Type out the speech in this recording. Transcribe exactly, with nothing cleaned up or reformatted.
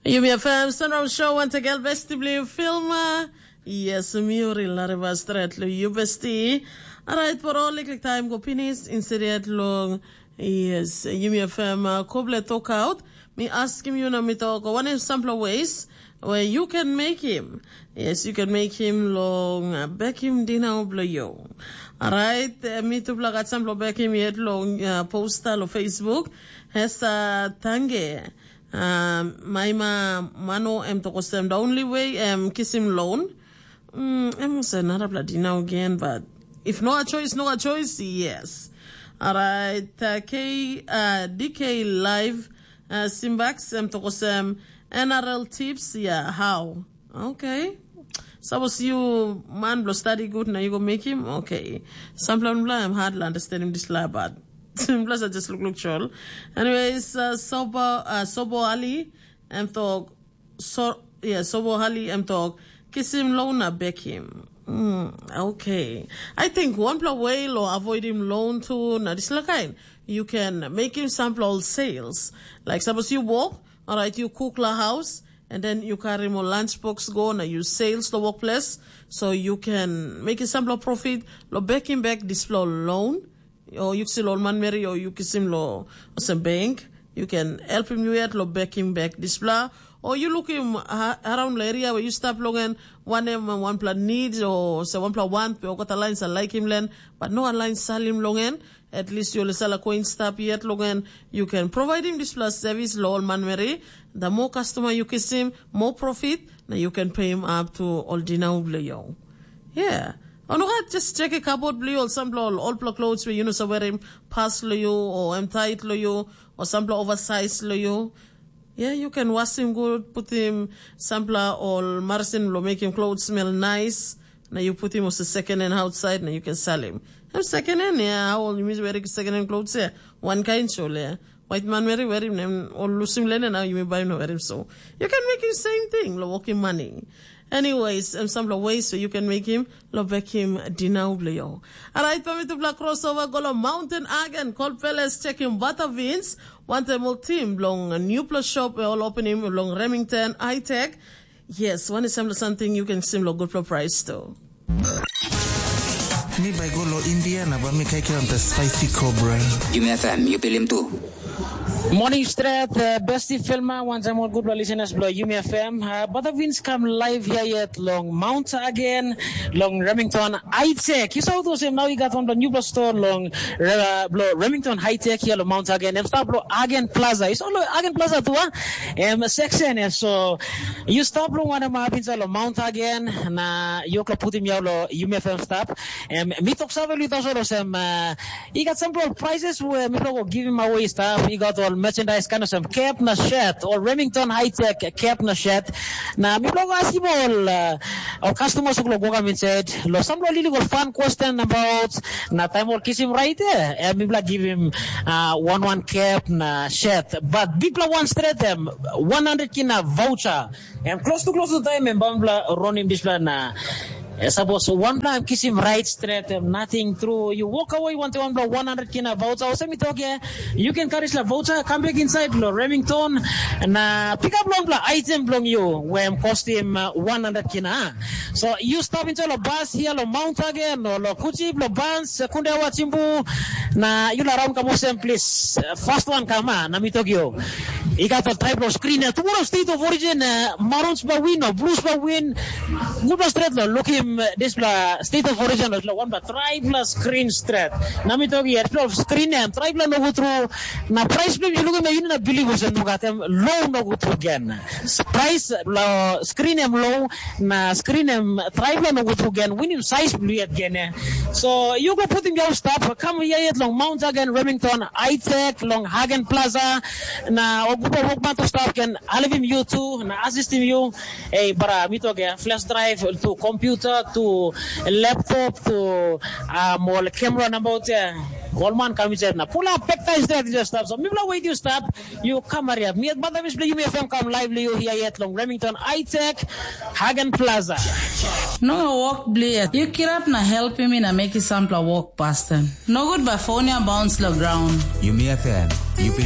Yumi F M Sunrise Show, once again, besti bli Filma. Yes, mi uri lariva stret lo yu besti. Alright, por all liklik time go pinis, instead long, yes, Yumi F M uh, koble talk out. Mi askim yu na mi talk, one of sample ways where you can make him. Yes, you can make him long uh, back him dinner blo yo. Alright, uh, mi tupla gat sample back him yet long uh, poster lo Facebook. Hesa tange. Um, maima mano em tokosem the only way em kisim loan. Mm, em se narapla dinau again, but if no a choice, no a choice, yes. Alright, uh, K, uh, D K Live, uh, Simbax em tokosem N R L tips, yeah, how? Okay. Suppose you man blo study good, now you go make him, okay. Some plan bla em hard to understand him this la, but plus I just look look chol. Anyways, uh, Sobo, uh, Sobo Ali, em tok, so, yeah, Sobo Ali, em tok, kisim loan na beg him. Mm, okay. I think one pla way lo avoid him loan too, na this la kind. You can make him sample all sales. Like suppose you walk, all right, you cook la house, and then you carry more lunch box go, na you sales the workplace, so you can make him sample profit, lo beg him back this lo loan, o yu kisim lo ol manmeri o yu kisim lo olsem bank, yu ken helpim yu yet lo bekim bek dispela, o yu lukim ha- around lo area we yu stap long en, wanem wanpela need o se wanpela want pe olgeta lain sa laikim len, but no lain salim long en, at least yu olsala koin stap yet long en, yu ken providim dispela service lo ol manmeri, the more customer yu kisim, more profit, na yu ken pay him up to ol dinau blo yu. Yeah. O nogat, just check kabot bilong yu, ol sampela ol olpela clothes we yu no sa werim pas long yu, o em tait long yu, o sampela oversize long yu. Yeah, you can wasim gut, putim sampela ol marasin lo mekim clothes smell nice, na yu putim olsem second hand outside, na you can sell him. Em second hand, yeah, how old you mean wearing second hand clothes, yeah? One kind, surely, yeah. White man wearing, wearing, and or losing linen, now you may buy no wearing so. You can make him same thing, lo working money. Anyways, em sampela ways so you can make him lo bekim dinau blo yo. Alright, pa mi tupela crossover go lo Mountain Agen, Cold Palace, check him butter beans. Wantaim ol team bilong newpela shop ol opening bilong Remington High Tech. Yes, one is sampela something you can sim lo good for price too. Mi bai go lo India na ba mi kaikai on the spicy cobra. Yumi F M, you pilim tu. Morning stret, uh, besti filma, wantaim ol gutpela listeners bilong Yumi F M. Uh, Bata Vince kam live here yet long Mount again, long Remington High Tech. You saw those him now, you got on the new store long uh, blo Remington High Tech here long Mount again. Em start blo Agen Plaza. You saw lo Agen Plaza tu, ah? Em section, eh, so you stop lo one em up inside lo Mount again. Na you can put him yau lo Yumi F M stop. Em, mi tok save lo ito so lo sem, uh, I gat sampela ol prices we mipela go givim away i stap. I gat ol merchandise kind of sem cap na shirt, ol Remington High Tech cap na shirt. Na mipela go askim ol uh, ol customers who go kam inside. Lo sampela illegal fun question about na time ol kisim right there. Eh, mipela givim uh, one one cap na shirt. But bigpela one straight em one hundred kina voucher. Em close to close to time em bambla ronim dispela na Eh, sapos wanpela em kisim rait stret em nating tru, yu wok awei wantaim wanpela one hundred kina voucher, olsem mi tok ya, yu ken karim dispela voucher kam bek insait long Remington na pikap longpela item bilong yu we em kostim uh, one hundred kina. So yu stap insait long bas hia long Mount Hagen o long Kuchip, long Bans, Kundewa, Chimbu, na yu la raun kam olsem plis, uh, fast wan kam a, na mi tok yu. I gat ol traip long skrin ya, tumora state of origin, uh, marons ba win o blues ba win, Gutpela stret lo lukim eh, dispela state of origin lo dispela wanpela traipela screen stret. Na mi tok yet lo screen em traipela nogut tru. Na price bilong yu lukim yu na bilip olsem no gat em low nogut tru gen. Price lo screen em low na screen em traipela nogut tru gen winim size bilong yet gen. So you go putim your stop, come here yet long Mount Hagen, Remington, High Tech, long Hagen Plaza. Na o gutpela wokman to stop gen alivim you tu na assistim you. Ei, bara mi tok ya, flash drive, tu computer, tu laptop, tu um, ol camera nabaut ya. Ol man kam insait na pull up pektai stret just stop. So mipela wait you stop, you come hurry up. Mi at bada mis you me fam come live you here yet long Remington High Tech, Hagen Plaza. No work bliat. You kirap na help me na make it sampla work, pastor. No good by phone ya bounce lo ground. Yumi F M. You